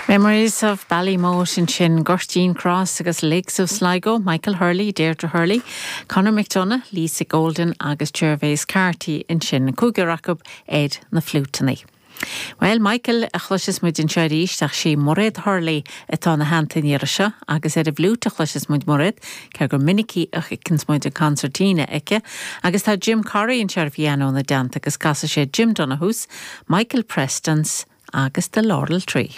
Memories of Ballymote ansin, Goirtín Cross agus Lakes of Sligo, Michael Hurley, Deirdre Hurley, Conor McDonagh, Lisa Golden agus Gervase Carty ansin, cúigear acu ar na fliúiteanna. Bhuel, Michael a chloiseas muid anseo arís ach sí Mairéad Hurley atá ina theannta an iarraidh seo agus ar an bhfliúit a chloiseas muid Mairéad, cé gur minicí a fheiceanns muid an concertina aici, agus tá Jim Corry anseo ar an phianó ina dteannta agus casfaidh sé Jim Donohue's, Michael Preston's agus The Laurel Tree.